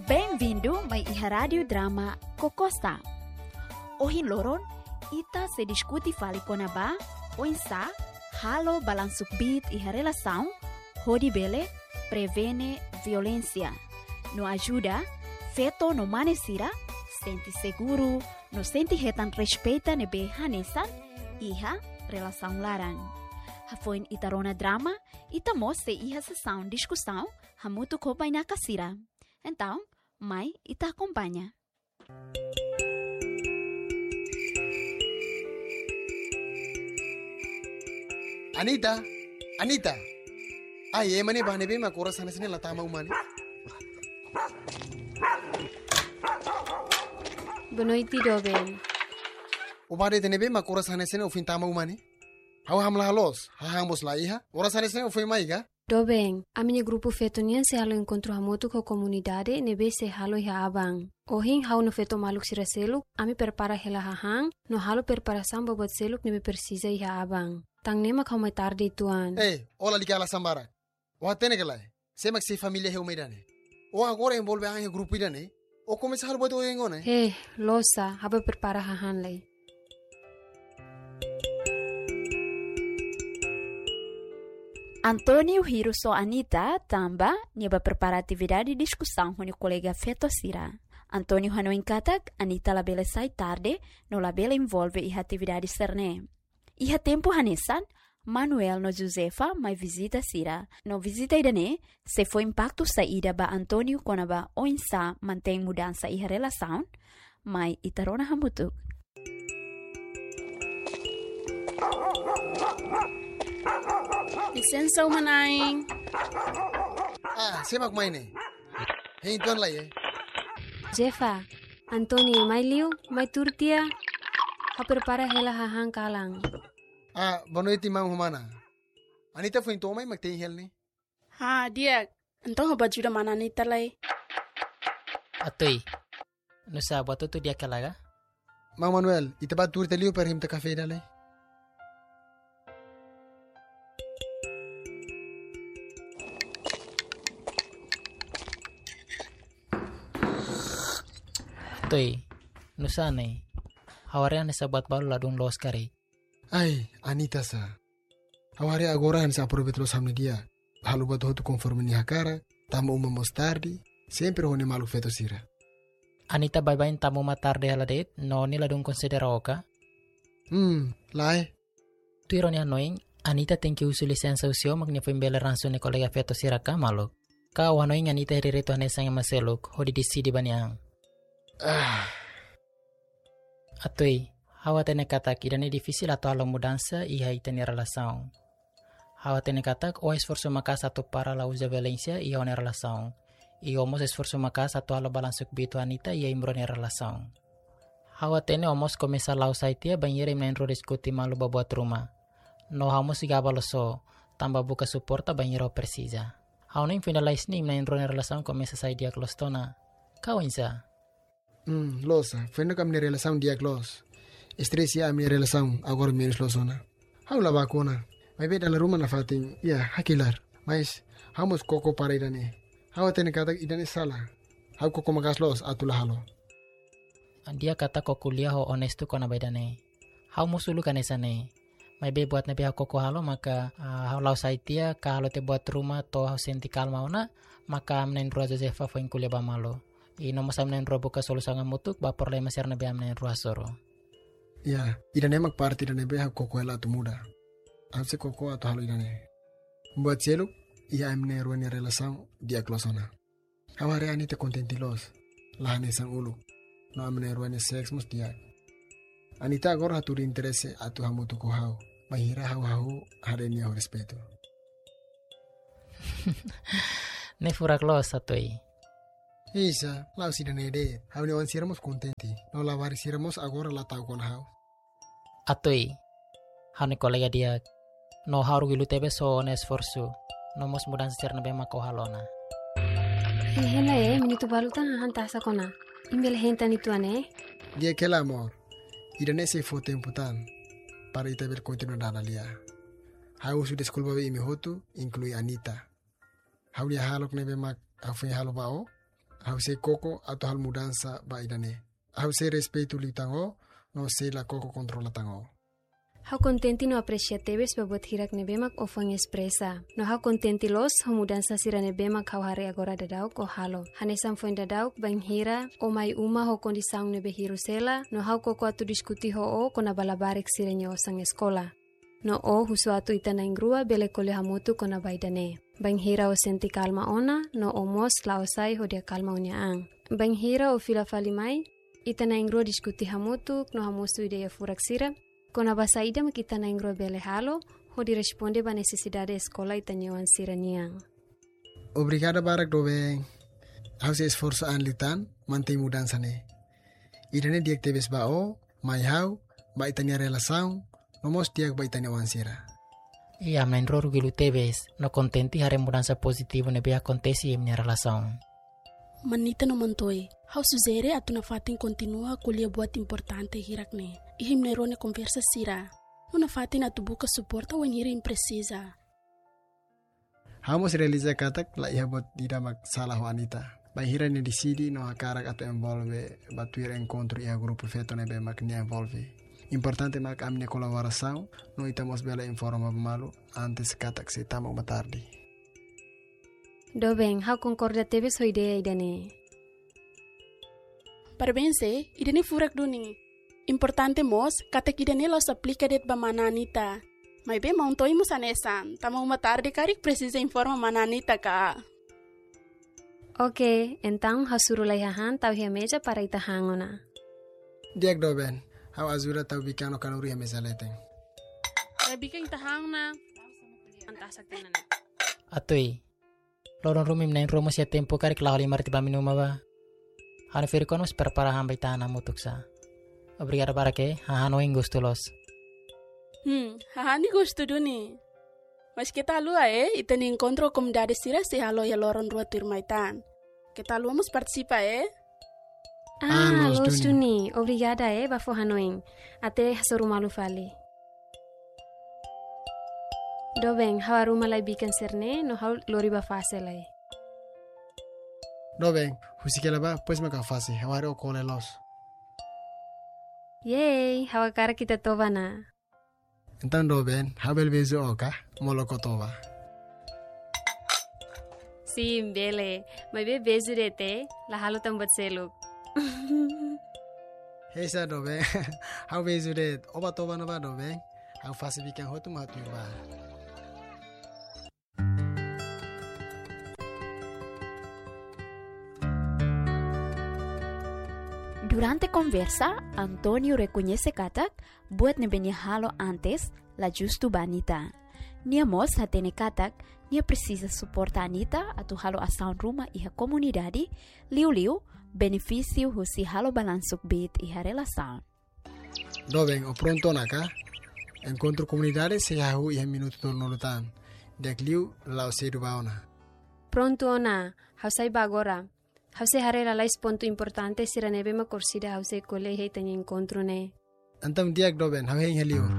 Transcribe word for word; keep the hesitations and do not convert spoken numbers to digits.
Bem-vindo mai iha Rádio Drama Kokosta. Ohin loron, ita sei diskute fali kona-ba oinsá halo balansu kbiit iha relasaun hodi bele prevene violénsia, no ajuda feto no mane sira sente seguru, no sente hetan respeitu ne'ebé hanesan iha relasaun laran. Hafoin ita rona drama, ita mós sei iha sesaun diskusaun hamutuk ho bainaka sira. Entaun, mai ita akompaña. Anita, Anita. Ai, ema ne'ebá ne'ebé mak oras hanesan ne'e la tama uma ne'e? Boa noite, doben. Ó bá de'it ne'ebé mak oras hanesan ne'e ohin tama uma ne'e? Ha'u hamlaha loos, hahán mós la iha. Oras hanesan ne'e ó foin mai ka? Doben, ami-nia grupu feto nian sei halo enkontru hamutuk ho komunidade ne'ebé sei halo iha aban. Ohin ha'u no feto maluk sira seluk, ami prepara hela hahán, no halo preparasaun ba buat seluk ne'ebé presiza iha aban. Tan ne'e mak ha'u mai tarde uitoan. Eh, ó lalika ala sambara. Ó hatene ka lae? Sé mak sei família ha'u mai ida-ne'e. Ó agora envolve an iha grupu ida-ne'e. Ó komesa halo buat oioin ona. He, loos sá, ha'u bá prepara hahán lai. António hirus ho Anita tanba nia bá prepara atividade diskusaun ho nia kolega feto sira. António hanoin katak Anita labele sai tarde, no labele envolve iha atividade sira-ne'e. Iha tempu hanesan, Manuel no Josefa mai vizita sira. No vizita ida-ne'e sei fó impaktu saida ba António kona-ba oinsá mantein mudansa iha relasaun? Mai ita rona hamutuk. Lisensa, uma-na'in. Ah, sé mak mai ne'e? Hein tuan lai, eh? Josefa, António mai liu, mai tuur tiha. Ha'u prepara hela hahán kalan. Ah, boa noite, maun ho mana. Anita foin to'o mai mak tein hela ne'e? Ha, di'ak. Entaun ha'u bá ajuda mana Anita lai. Atoi. Nusá, buat hotu di'ak ka lae ka? Maun Manuel, ita bá tuur tiha liu para ita toma kafé ida lai. Atoi, nusá ne'e? Ha'u haree hanesan buat balu ladún loos karik. Ai, Anita sá. Ha'u haree agora hanesan aproveita loos ami-nia dia. Halo buat hotu konforme nia hakarak, tama uma mós tarde, sempre ho nia maluk feto sira. Anita baibain tama uma tarde hela de'it, no nia ladún konsidera ó ka? Hmm, lae. Tuir ó-nia hanoin, Anita tenke husu lisensa husi ó mak nia foin bele ransu nia kolega feto sira ka maluk? Ka ó hanoin Anita iha direitu hanesan ema seluk, hodi deside ba nia an? Ah. Atoi, ha'u hatene katak ida-ne'e difisil atu halo mudansa iha ita-nia relasaun. Ha'u hatene katak ó esforsu maka'as atu para la uza violénsia iha ó-nia relasaun. I ó mós esforsu maka'as atu halo balansu kbiit ho Anita iha imi rua nia relasaun. Ha'u hatene ó mós komesa la'o sai tiha bainhira imi na'in-rua diskute malu ba buat ruma. No ha'u mós gaba loos ó, tanba buka suporta bainhira ó presiza. Ha'u hanoin foin dala iis ne'e imi na'in-rua nia relasaun komesa sai di'ak loos tiha ona. Ka oinsá? Hmm, loos sá, foin ne'e ami-nia relasaun di'ak loos. Estrese iha ami-nia relasaun agora menus loos ona. Ha'u la baku ona. Maibé dala ruma nafatin, ya, hakilar. Mas, ha'u mós koko para ida-ne'e. Ha'u hatene katak ida-ne'e sala. Ha'u koko maka'as loos atu la halo. Di'ak katak ó ko'alia ho onestu kona-ba ida-ne'e. Ha'u mós uluk hanesan ne'e. Maibé buat ne'ebé ha'u koko halo maka, ah, ha'u la'o sai tiha ka halo tiha buat ruma to'o ha'u sente kalma ona, maka ami na'in-rua Josefa foin ko'alia ba malu. I no mós ami na'in-rua buka solusaun hamutuk ba problema sira ne'ebé ami na'in-rua hasoru. Ya, ida-ne'e mak parte ida ne'ebé ha'u koko hela atu muda. Ha'u sei koko atu halo ida-ne'e. Buat seluk, iha ami na'in-rua nia relasaun di'ak loos ona. Ha'u haree Anita kontente loos. La hanesan uluk. No ami na'in-rua nia seks mós di'ak. Anita agora hatudu interese atu hamutuk ho ha'u. Bainhira ha'u hahú haree nia ho respeitu. Ne'e furak loos, Atoi. Isa, la'ós ida-ne'e de'it. Ha'u-nia oan sira mós kontente. No labarik sira mós agora la ta'uk ona ha'u. Atoi, ha'u-nia kolega di'ak. No ha'u orgullu tebes ho ó-nia esforsu. No mós mudansa sira ne'ebé mak ó halo ona. Hein hela, eh, minutu balu tan hahán tasak ona. Imi bele hein tan uitoan, eh? Di'ak hela, amor. Ida-ne'e sei fó tempu tan. Para ita bele kontinua dada lia. Ha'u husu deskulpa ba imi hotu, inklui Anita. Ha'u-nia hahalok ne'ebé mak ha'u foin halo ba ó, Ha'u sei koko atu halo mudansa ba ida-ne'e. Ha'u sei respeitu liután ó, no sei la koko kontrola tan ó. Ha'u kontente no apresia tebes ba buat hirak ne'ebé mak ó foin espresa. No ha'u kontente loos ho mudansa sira ne'ebé mak ha'u haree agora daudauk ó halo. Hanesan foin daudauk, bainhira ó mai uma ho kondisaun ne'ebé hirus hela, no ha'u koko atu diskute ho ó kona-ba labarik sira-nia osan eskola. No ó husu atu ita na'in-rua bele ko'alia hamutuk kona-ba ida-ne'e. Bainhira ó sente kalma ona, no ó mós la'o sai hodi akalma ó-nia an. Bainhira ó fila fali mai, ita na'in-rua diskute hamutuk no hamosu ideia furak sira kona-ba saida mak ita na'in-rua bele halo hodi responde ba nesesidade eskola ita-nia oan sira-nian. Obrigada barak doben. Ha'u sei esforsu an liután mantein mudansa ne'e. Ida-ne'e di'ak tebes ba ó, mai ha'u, ba ita-nia relasaun, no mós di'ak ba ita-nia oan sira. Iha, ami na'in-rua rugilu tebes, no kontente haree mudansa pozitivu ne'ebé akontese iha ami-nia relasaun. Manita no Mantoi, ha'u sujere atu nafatin kontinua ko'alia buat importante hirak-ne'e iha imi na'in-rua nia konversa sira. No nafatin atu buka suporta wainhira imi presiza. Ha'u mós realiza katak la iha buat ida mak sala ho Anita. Bainhira nia deside no hakarak atu envolve ba tuir enkontru iha grupu feto ne'ebé mak nia envolve. Importante mak ami-nia kolaborasaun, no ita mós bele informa ba malu antes katak sei tama uma tarde. Doben, ha'u konkorda tebes ho ideia ida-ne'e. Parabéns, eh, ida-ne'e furak duni. Importante mós, katak ida-ne'e la'ós aplika de'it ba mana Anita. Maibé Mantoi mós hanesan, tama uma tarde karik presiza informa mana Anita ka. Oke, entaun ha'u suru lai hahán tau iha meja para ita han ona. Di'ak doben, ha'u ajuda tau bikan no kanuru iha meja leten. Lai bikan ita han ona. Antasa tenane. Atui. Loron ruma imi na'in-rua mós iha tempu karik la'o halimar tiha ba ami-nia uma ba. Ha'u-nia ferik-oan mós prepara hahán ba ita han hamutuk sá. Obrigada barak, eh, hahán ohin gostu loos. Hmm, hahán ne'e gostu duni. Mas keta haluha, eh, ita-nia enkontru komunidade sira sei halo iha loron rua tuirmai tan. Keta haluha mós partisipa, eh. Ah, ah, loos, loos duni. Duni. Obrigada, eh, ba fó hanoin. Até hasoru malu fali. Doben, ha'u arruma lai bikan sira-ne'e, no ha'u lori ba fase lai. Doben, husik hela ba, depois mak ha'u fase, ha'u haree ó kole loos. Yeay, ha'u hakarak ita toba ona. Entaun doben, ha'u bele beiju ó ka, molok ó toba. Sin, bele, maibé beiju de'it, la halo tan buat seluk. Heisa doben, ha'u beiju de'it, ó bá toba ona ba doben, ha'u fase bikan hotu mak ha'u tuir ba. Durante konversa, António rekoñese katak buat ne'ebé nia halo antes la justu ba Anita. Nia mós hatene katak nia presiza suporta Anita atu halo asaun ruma iha komunidade, liuliu benefísiu husi halo balansu kbiit iha relasaun. Doben, ó prontu ona ka? Enkontru komunidade sei hahú iha minutu tolunulu tan. Di'ak liu la'o sedu bá ona. Prontu ona, ha'u sai bá agora. Ha'u sei haree lalais pontu importante sira ne'ebé mak orsida ha'u sei ko'alia iha ita-nia enkontru ne'e. Entaun di'ak doben, ha'u hein iha liur.